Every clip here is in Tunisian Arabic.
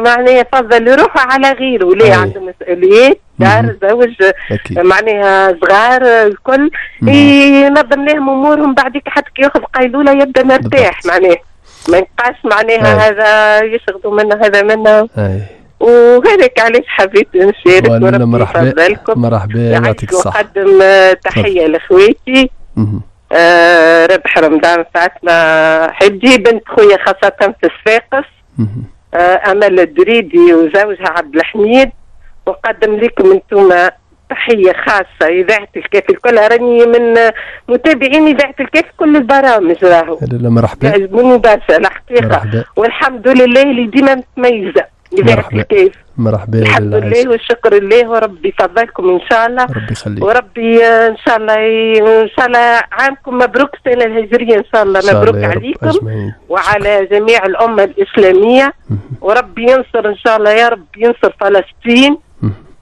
معناها فضل روحه على غيره، ليه عنده مسؤوليات، دار، زوج، معناها صغار الكل، ينظم لهم امورهم، بعديك حتى كي ياخذ قيلولة يبدا مرتاح، معناها ما يبقاش معناها هذا يشغلوا منه هذا منه. وهذاك علاش حبيت نشارك، وربي يفضلكم. مرحبا، يعطيك الصحة. ونقدم تحية لاخواتي. ربح رمضان فاطمة حجي بنت خويا خاصة في الصفاقس، أمل الدريدي وزوجها عبد الحميد. وقدم لكم انتم تحية خاصة إذاعة الكاف الكل، راني من متابعين إذاعة الكاف كل البرامج راهو. مرحبا، يعجبوني برشا الحقيقة، والحمد لله اللي ديما متميزة إذاعة الكاف. مرحبا، الحمد لله والشكر لله، وربي يفضلكم إن شاء الله. ربي يخليك، وربي إن شاء الله، إن شاء الله عامكم مبروك، السنة الهجرية إن شاء الله مبروك عليكم أجمعين. وعلى جميع الأمة الإسلامية، وربي ينصر إن شاء الله، يا رب ينصر فلسطين،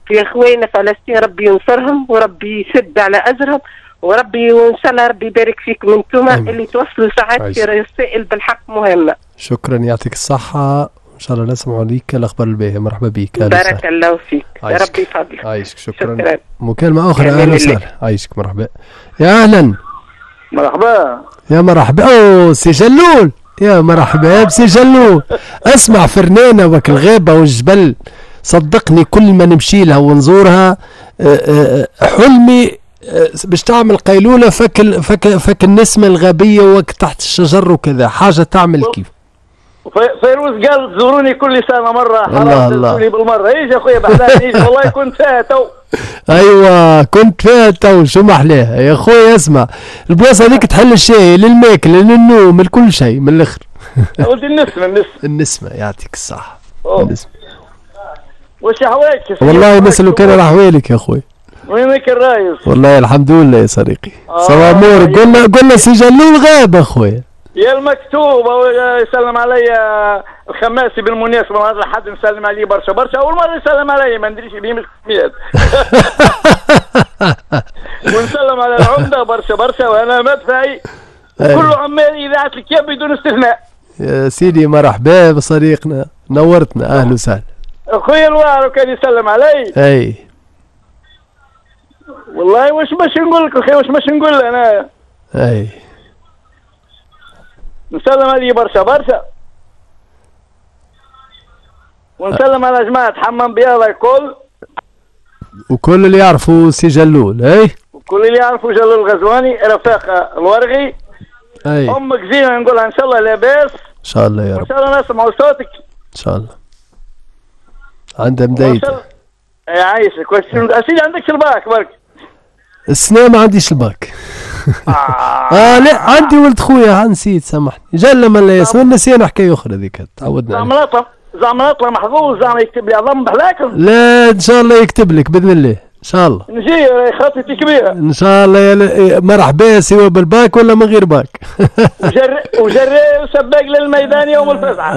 في إخواننا فلسطين ربي ينصرهم، وربي يشد على أجرهم، وربي وإن شاء الله ربي يبارك فيكم أنتم اللي توصلوا ساعات في رسائل بالحق مهمة. شكرا، يعطيك الصحة، إن شاء الله نسمع ليك الأخبار الباهية. مرحبا بك، بارك الله فيك، ربي يفضلك. عايشك، شكرا. مكالمة أخرى، أهلا وسهلا. عايشك، مرحبا. يا أهلا. مرحبا. يا مرحبا، أوه سي جلول، يا مرحبا بسي جلول. اسمع، فرنانة وك الغابة والجبل، صدقني كل ما نمشي لها ونزورها حلمي باش تعمل قيلولة فك فك فك النسمة الغابية وك تحت الشجر وكذا، حاجة تعمل كيف. فيروز قال زوروني كل سنة مرة، الله الله بالمرة. ايش يا خويا بحلان، ايش والله كنت فيها تو. ايوه كنت فيها تو، شو محلاها يا خويا. اسمع، البلاصة هذيك تحل الشاي للماكله للنوم لكل شيء من الاخر. ولدي النسمه، النسمه، النسمه، يعطيك الصحة. النسمه. واش احوالك؟ والله نسألك كان على احوالك يا خويا. وينك الرايس؟ والله الحمد لله يا صديقي. صباح امورك. قلنا سي جلول غاب اخويا. يا المكتوب يسلم علي الخماسي بالمناسبة، هذا حد نسلم عليه برشا برشا، أول مرة يسلم علي ما ندريش بيه مش ونسلم على العمدة برشا برشا، وأنا مدفعي وكل عمال إذاعة الكياب بدون استثناء. يا سيدي مرحبا بصديقنا، نورتنا، أهلا وسهلا. أخويا الواعر كان يسلم علي. أي والله واش باش نقول لك أخي، واش باش نقول أنا؟ أي نسلم عليه برشا برشا، ونسلم على جماعة حمام بياضة الكل، وكل اللي يعرفوا سي جلول. اي وكل اللي يعرفوا جلول الغزواني، رفاقة الورغي. اي امك زينة نقولها ان شاء الله لاباس، ان شاء الله يا رب، ان شاء الله نسمعوا صوتك ان شاء الله. عندها مدايدة. يعيشك. سيدي عندكش الباك برك؟ السنة ما عنديش الباك. لا عندي ولد خويا، نسيت سامحني، جل من لا يسمى، نسينا حكاية اخرى ذيك تعودنا. زعما نطلع محظوظ، زعما يكتب لي عظم بحلاكم. لا ان شاء الله يكتب لك باذن الله، ان شاء الله. نجي خطتي كبيرة ان شاء الله. يا مرحبا، سواء بالباك ولا من غير باك. وجري وسباق للميدان يوم الفزعه.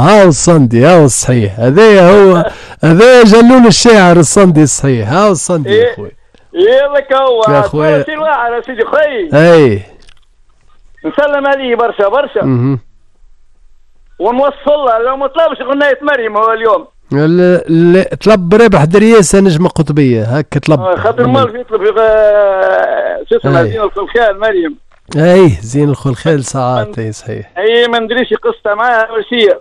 هاو الصندي، هاو الصحيح، هذايا هو، هذايا جلول الشاعر الصندي الصحيح، هاو الصندي يا خويا. يلا كهو يا خويا سي الواعر يا سيدي خويا. اي نسلم عليه برشا برشا. ونوصل له لو ما طلبش غناية مريم هو اليوم. لا طلب رابح درياسة نجمة قطبية هكا طلب. خاطر مال يطلب شو اسمها زين الخلخال مريم. اي زين الخلخال ساعات. اي صحيح. اي ما ندريش قصة معاها وش هي.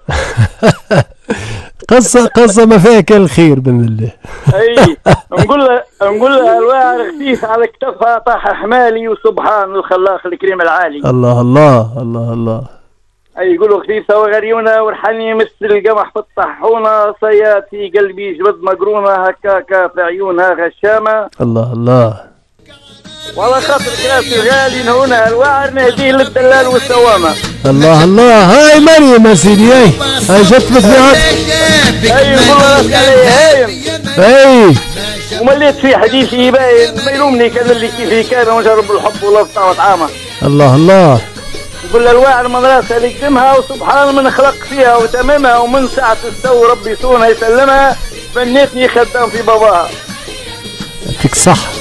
قصة ما فيها كان الخير بإذن الله. اي نقول لها الواعر خفيف على كتفها طاح حمالي، وسبحان الخلاق الكريم العالي. الله الله الله الله. اي يقولوا خفيفة وغريونة ورحني مثل القمح في الطاحونة، صياد في قلبي جبد مقرونة، هكاكا في عيونها غشامة. الله الله. والله خاطر كراسي الغالي نهونا الواعر نهديه للدلال والسوامة. الله الله. هاي مريم يا سيدي، هاي هاي جت بطبيعتك. اي والله راسك علي هايم. اي ومليت في حديثي باين ما يلومني كان اللي كيفي كان، ونجرب الحب والله وطعامه. الله الله. نقول الواعر من راسها اللي قدمها، وسبحان من خلق فيها وتمامها، ومن ساعة السو ربي يصونها يسلمها، بنيتني خدام في باباها. يعطيك الصحة.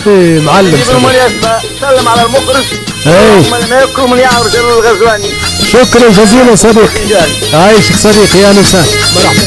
ايه معلم. بالمناسبة سلم على المخرج. ايه. من يعرف جلال الغزواني. شكرا جزيلا صديقي. عايشك صديقي، اهلا وسهلا. مرحبا.